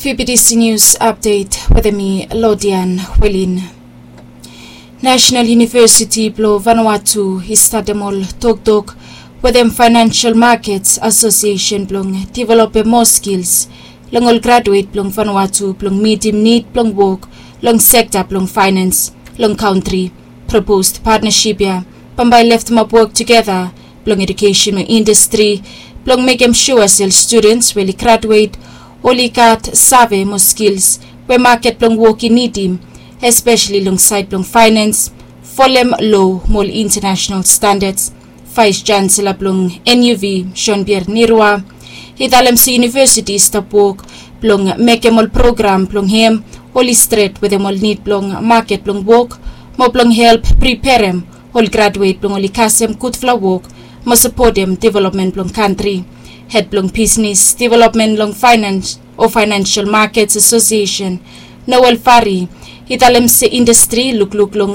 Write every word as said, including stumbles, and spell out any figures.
Fibidisi nius apdet wetem mi, Lodian Welin. National University blong Vanuatu i statem ol toktok wetem Financial Markets Association blong developem moa skils long ol graduet blong Vanuatu blong mitim nid blong wok long sekta blong fainans long kantri. Proposed partnership ya bambae leftemap wok tugeta blong edukesen mo indastri blong mekem sua se ol studens we oli graduet oli gat save mo skils we maket blong wok i nidim, espeseli long saed blong fainans, folem lo mo ol intanasenal standads. Vaes Chansela blong N U V, Jean Pierre Nirwa, i talem se yunivesiti i stap wok blong mekem ol program blong hem oli stret wetem ol nid blong maket blong wok mo blong help priperem ol graduet blong oli kasem gudfala wok mo sapotem developmen blong kantri. Hed blong bisnis developmen long fainans o Financial Markets Association, Noel Fari, i talem se indastri i lukluk long